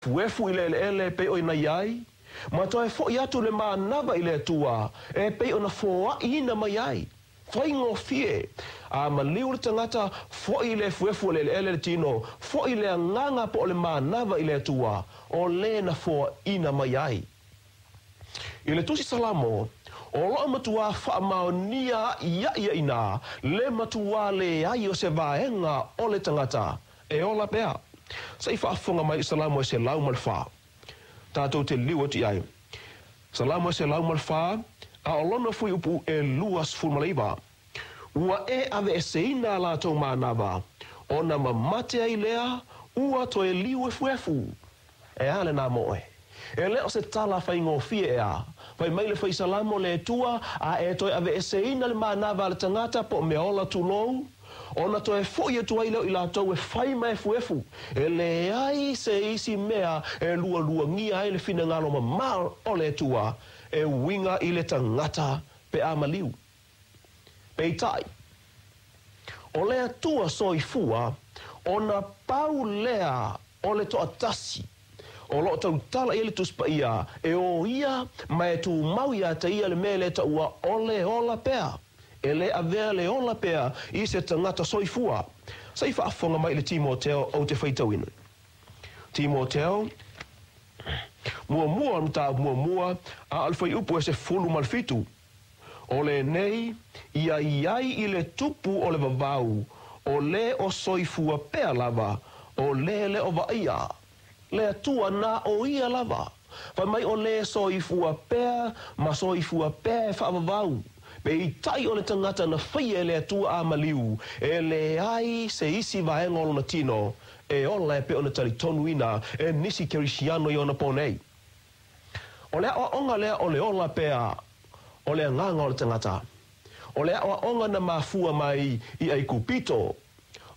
Efuefu i le eleele e pei ona i ai, ma toe foʻi atu le manava i le Atua e pei ona foaʻiina mai ai. Faigofie! A maliu le tagata, foʻi i le efuefu o le eleele le tino, foʻi le agaga po o le manava i le Atua, o le na foaʻiina mai ai. I le Tusi Salamo, o loʻo matuā faamaonia aʻiaʻi ia inā le matuā leai o se vaega o le tagata e ola pea. Se i faafofoga mai i Salamo e 104. Tatou te liliu atu i ai. Salamo e 104, a o lona fuaiupu e 29. Ua e aveeseina a latou manava, ona mamate ai lea, ua toe liu efuefu. E a lenā mo oe? E le o se tala faigofie ʻeā. Fai mai le Fai Salamo le Atua, a e toe aveeseina le manava a le tagata po o mea ola tulou, ona toe foʻi atu ai lea o i latou e fai ma efuefu, e leai se isi mea e lualuagia ai le finagalo mamao o le Atua e uiga i le tagata pe a maliu. Peitai, o le Atua soifua, ona pau lea o le toatasi o lo o tautala i ai le Tusi Paia, e o ia ma e tumau iā te ia le mea e le taua o le ola pea. E le avea le ola pea i se tagata soifua. Se i faafofoga mai i le Timoteo ou te faitauina. Timoteo, muamua o le mataupu muamua, a o le fuaiupu e 17. O lenei, ia i ai i le tupu o le vavau, o le o soifua pea lava, o le le o vaaia le Atua na o ia lava. Fai mai o le soifua pea ma soifua pea e faavavau, peitai o le tagata na faia e le Atua a maliu, e leai se isi vaega o lona tino e ola e pei ona talitonuina e nisi Kerisiano i ona pō nei. O le aʻoaʻoga lea o le ola pea o le agaga o le tagata. O le aʻoaʻoga na mafua mai i ʻAikupito.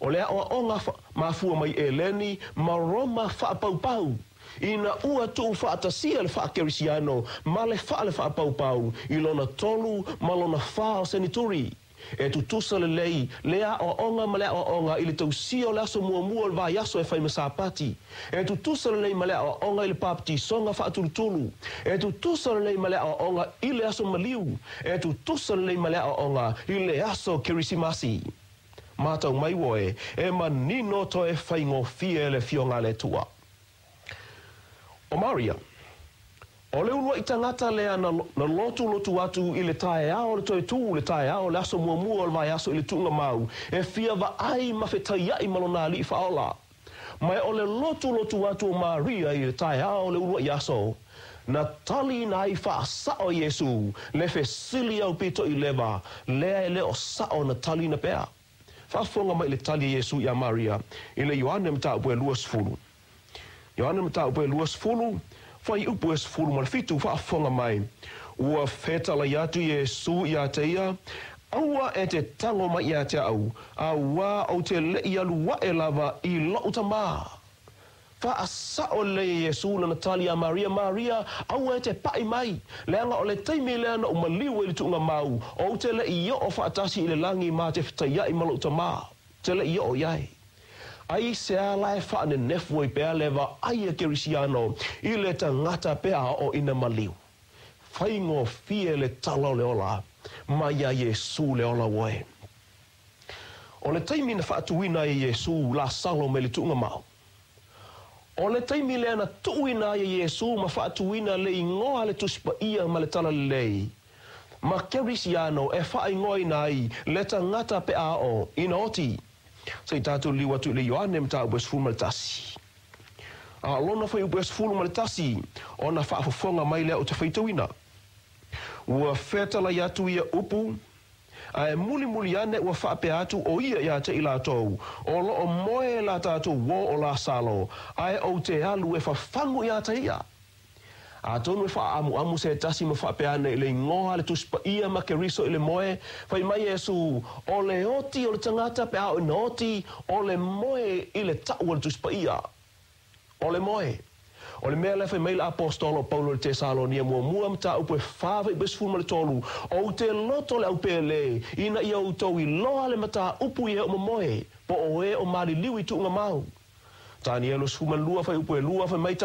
O le aʻoaʻoga mafua mai ʻEleni ma Roma faapaupau. Ina ua tuufaatasia le faakerisiano ma le fale faapaupau i lona tolu ma lona fā o senituri. E tutusa lelei le aoaoga ma le aoaoga i le tausia o le aso muamua o le vaiaso e fai ma Sapati. E tutusa lelei ma le aoaoga i le papatisoga faatulutulu. E tutusa lelei ma le aoaoga i le aso maliu. E tutusa lelei ma le aoaoga i le aso Kerisimasi. Matau mai oe, e manino toe faigofie le Afioga a le Atua. ʻO Maria, ʻo le uluaʻi tagata lea na na lotulotu atu i le taeao o le toe tū, le taeao o le aso muamua o le vaiaso i le tuuga mau, e fia vaai ma fetaiaʻi ma lona aliʻi faaola. Ma e o le lotulotu atu o Maria i le taeao o le uluaʻi aso, na taliina ai faasaʻo e Iesū le fesili aupito i lewa lea e le o saʻo na taliina pea. Faafofoga mai i le tali a Iesū iā Maria i le Ioane mataupu e 20. Ioane mataupu e 20, fuaiupu e 17, faafofoga mai, Ua fetalai atu Iesū iā te ia, Aua e te tago mai iā te aʻu, auā ou te leʻi alu aʻe lava i loʻu Tamā. Faasaʻo lelei e Iesū lana tali iā Maria, Maria, aua e te paʻi mai, leaga o le taimi lea na ou maliu ai i le tuuga mau, ou te leʻi oʻo faatasi i le lagi ma te fetaiaʻi ma loʻu Tamā, te leʻi oʻo i ai. Ai se ala e faanenefu ai pea le vaai a Kerisiano i le tagata pe a oo ina maliu. Faigofie le tala o le ola mai iā Iesū le ola oe. O le taimi na faatuina ai e Iesū Lasalo mai le tuuga mau. O le taimi lea na tuuina ai e Iesū ma faatuina le igoa a le Tusi Paia ma le Talalelei ma Kerisiano e faaigoaina ai le tagata pe a oo ina oti. Se i tatou liliu atu i le Ioane mataupu e 11. A o lona fuaiupu e 11, ona faafofoga mai lea o te faitauina. Ua fetalai atu ia upu, a e mulimuli ane ua faapea atu ʻo ia iā te i latou, O lo o moe la tatou uō o Lasalo, a e ou te alu e fafagu iā te ia. Atonu e faaamuamu se tasi ma faapea ane i le igoa a le Tusi Paia ma Keriso i le moe, fai mai Iesū, O le oti o le tagata pe a oo ina oti, o le moe i le taʻu a le Tusi Paia. O le moe. O le mea lea fai mai le Aposetolo o Paulo i le Tesalonia muamua mataupu e 4:13, Ou te loto le aupēlē, ina ia outou iloa le mataupu i e o momoe, po o e o maliliu i tuuga mau. Tanielo 12 fuaiupu e 2, fai mai.